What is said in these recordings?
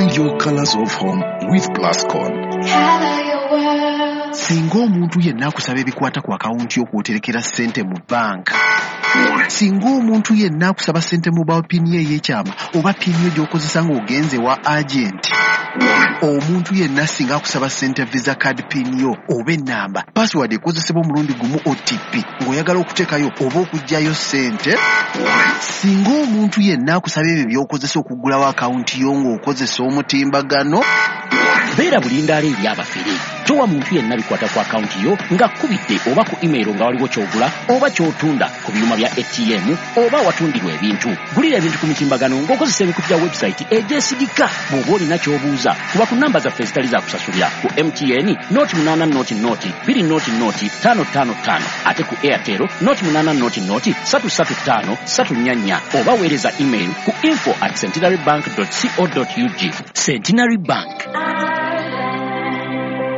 Find your colors of home with Plascon. Color your world. Singa omuntu yenna akusaba ebikwata ku akawunti y'okwoterekera ssente mu banka, singa omuntu yenna akusaba ssente mobile PIN ye ey'ekyama oba PIN yo gy'okozesa ng'ogenze wa agenti, omuntu yenna singa akusaba ssente Visa card PIN yo oba ennamba, password ekozesebwa omulundi gumu OTP ng'oyagala okuteekayo oba okuggyayo ssente, singa omuntu yenna akusaba ebyo by'okozesa okuggulawo akawunti yo ng'okozesa omutimbagano, Beera bulindaala eri abafere. Towa muntu yenna bikwata ku akawunti yo ng'akkubidde oba ku email nga waliwo ky'ogula oba ky'otunda ku byuma bya ATM oba awatundirwa ebintu. Gulira ebintu ku mitimbagano ng'okozesa emikutu gya website egyesigika. Bw'oba olina ky'obuuza, kuba ku namba zaffe ezitali za kusasulira ku MTN 080 0 200 555, ate ku Airtel 080 335 344, oba weereza email ku info@centenarybank.co.ug. Centenary Bank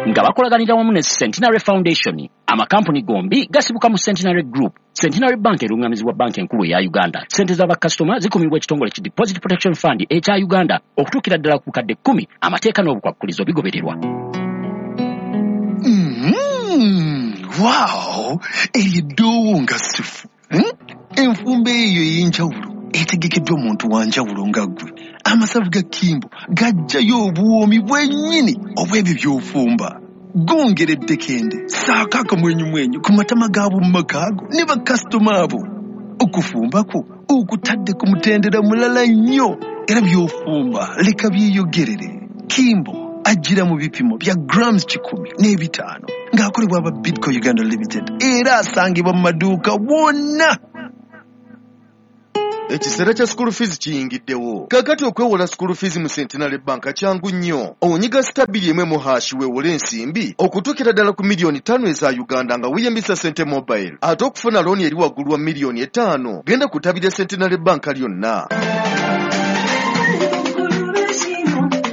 nga bakolaganira wamu ne Centenary Foundation. Amakampuni gombi gasibuka mu Centenary Group. Centenary Bank erungamizibwa Banka Enkulu eya Uganda. Sente z'abakasitoma zikumibwa ekitongole ki Deposit Protection Fund ekya Uganda okutuukira ddala ku bukadde 10. Amateeka n'obukwakkulizo bigobererwa. Wow! Eryo eddoowo nga ssufu. Enfumba eyo ey'enjawulo etegekeddwa muntu wa njawulo nga ggwe. Amasavu ga Kimbo gajjayo obuwoomi bwennyini obw'ebyo by'ofumba. Gongera eddekende, saako akamwenyumwenyu ku matama g'ab'omu maka go ne bakasitoma abo. Okufumba kwo okutadde ku mutendera mulala nnyo, era by'ofumba leka byeyogerere. Kimbo ajjira mu bipimo bya grams 105 ng'akolebwa aba Bidco Uganda Limited, era asangibwa mu maduuka wonna. Ekiseera kya school fees kiyingiddewo kaakati. Okwewola school fees mu Centenary Bank kyangu nnyo. Onyiga *210# weewole ensimbi okutuukira ddala ku miliyoni 5 eza Uganda nga weeyambisa Sente Mobile. Ate okufuna looni eri waggulu wa miliyoni 5, genda ku ttabi lya Centenary Bank lyonna.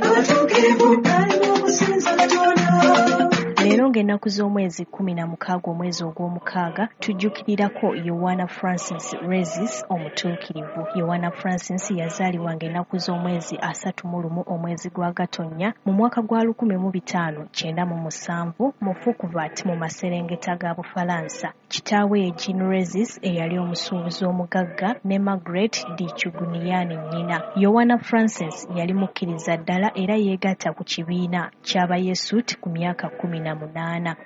Abatuukirivu balina okusinza Katonda. Leero ng'ennaku z'omwezi 16 omwezi ogw'omukaaga, tujjukirirako Yowana Francis Resis omutuukirivu. Yowana Francis yazaalibwa ng'ennaku z'omwezi 31 omwezi gwa Gatonnya mu mwaka gwa 1597 mu Fouqueval mu maserengeta ga Bufalansa. Kitaawe ye Jean Resis eyali omusuubuzi omugagga, ne Margaret de Chugunian nnyina. Yowana Francis yali mukkiriza ddala era yeegatta ku kibiina ky'Abayesuti ku myaka 18.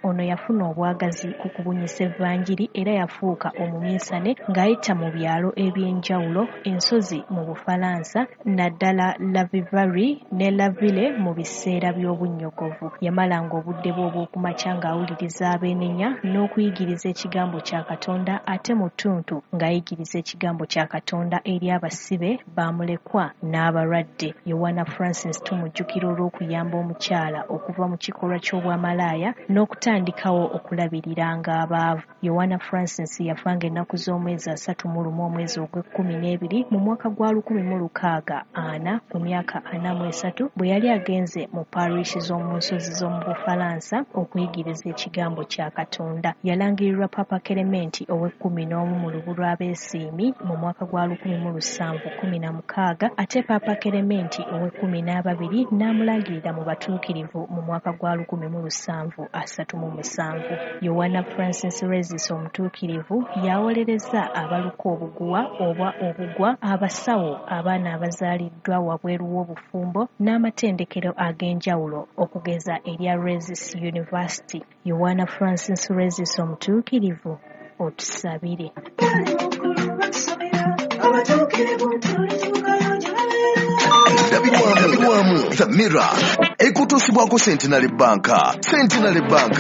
Ono yafuna obwagazi ku kubunyisa evvanjiri era yafuuka omuminsane ng'ayita mu byalo eby'enjawulo, ensozi mu Bufalansa, naddala La Vivarais ne La Ville mu biseera by'obunnyogovu. Yamalanga obudde bwe obw'okumakya ng'awuliriza abeenenya n'okuyigiriza ekigambo kya Katonda, ate mu ttuntu ng'ayigiriza ekigambo kya Katonda eri abasibe, bamulekwa n'abalwadde. Yowana Francis tumujjukira olw'okuyamba omukyala okuva mu kikolwa ky'obwamalaaya n'okutandikawo okulabiriranga abaavu. Yowana Francis yafa ng'ennaku z'omwezi 31 omwezi ogw'e-12 mu mwaka gwa 1640 ku myaka 43, bwe yali agenze mu parish z'omu nsozi z'omu Bufalansa okuyigiriza ekigambo kya Katonda. Yalangirirwa Papa Kerementi ow'e-11 mu lubu lw'abeesiimi mu mwaka gwa 1716, ate Papa Kerementi ow'e-12 n'amulangirira mu batuukirivu mu mwaka gwa 1737. Yowana Francis Resis omutuukirivu yawolereza abaluka obuguwa oba obugwa, abasawo, abaana abazaaliddwa wabweru w'obufumbo, n'amatendekero ag'enjawulo okugeza erya Resis University. Yowana Francis Resis omutuukirivu, otusabire. Abatuukirivu tulituukayo gye babeera. Endabirwamu The Mirror ekutuusibwako Centenary Bank. Centenary Bank.